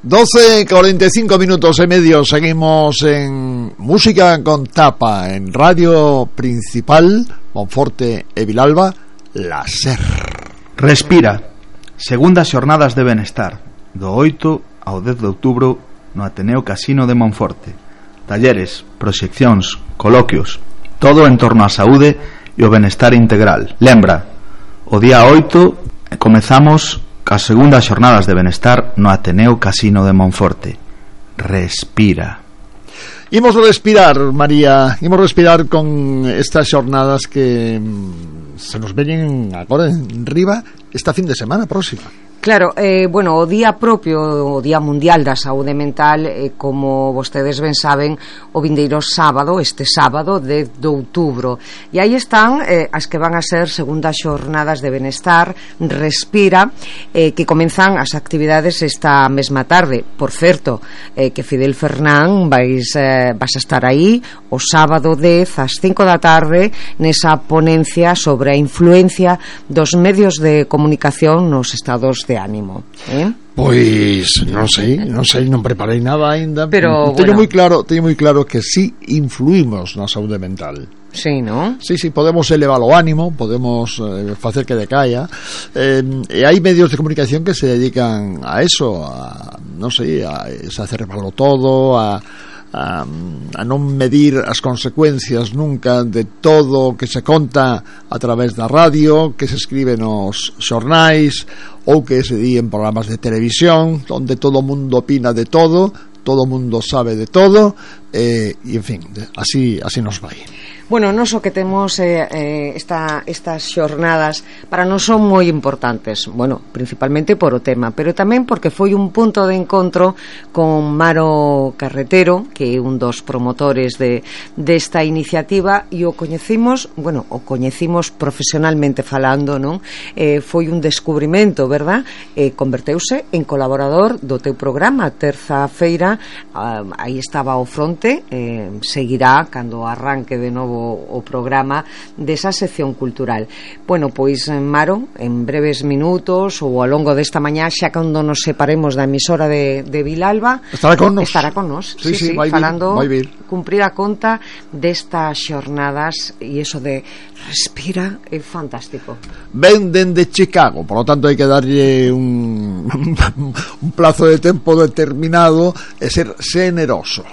12:45 minutos y medio. Seguimos en Música con Tapa en Radio Principal Monforte e Vilalba, la SER. Respira. Segundas xornadas de benestar, do 8 ao 10 de outubro no Ateneo Casino de Monforte. Talleres, proxeccións, coloquios, todo en torno á saúde e o benestar integral. Lembra, o día 8 comezamos as segundas xornadas de benestar no Ateneo Casino de Monforte. Respira. Imos respirar, María, imos respirar con estas xornadas que se nos veñen agora en riba esta fin de semana próxima. Claro, bueno, o día propio, o Día Mundial da Saúde Mental, como vostedes ben saben, o vindeiro sábado, este sábado 10 de outubro. E aí están as que van a ser segundas xornadas de benestar, Respira, que comenzan as actividades esta mesma tarde. Por certo, que Fidel Fernán vas a estar aí o sábado 10 ás 5 da tarde nesa ponencia sobre a influencia dos medios de comunicación nos estados de ánimo, Pois non sei, non preparei nada aínda, pero teño moi claro que sí influímos na saúde mental. Sí, ¿no? Sí, podemos elevar o ánimo, podemos facer que decaia, e hai medios de comunicación que se dedican a eso, a cerrarlo todo, a non medir as consecuencias nunca de todo o que se conta a través da radio, que se escribe nos xornais ou que se di en programas de televisión onde todo o mundo opina de todo o mundo sabe de todo, e en fin, así nos vai. Bueno, nos o que temos estas xornadas para nós son moi importantes, bueno, principalmente por o tema, pero tamén porque foi un punto de encontro con Maro Carretero, que é un dos promotores desta iniciativa, e o coñecimos profesionalmente falando, non? Foi un descubrimento, verdad? Converteuse en colaborador do teu programa, terza feira, aí estaba ao fronte, seguirá cando arranque de novo o programa desa sección cultural. Bueno, pois Maro, en breves minutos ou ao longo desta mañá, xa cando nos separemos da emisora de Vilalba, estará con nos. Sí, falando, cumprir a conta destas xornadas, e eso de Respira é fantástico. Ven dende Chicago, por lo tanto hai que darlle un plazo de tempo determinado e ser xeneroso.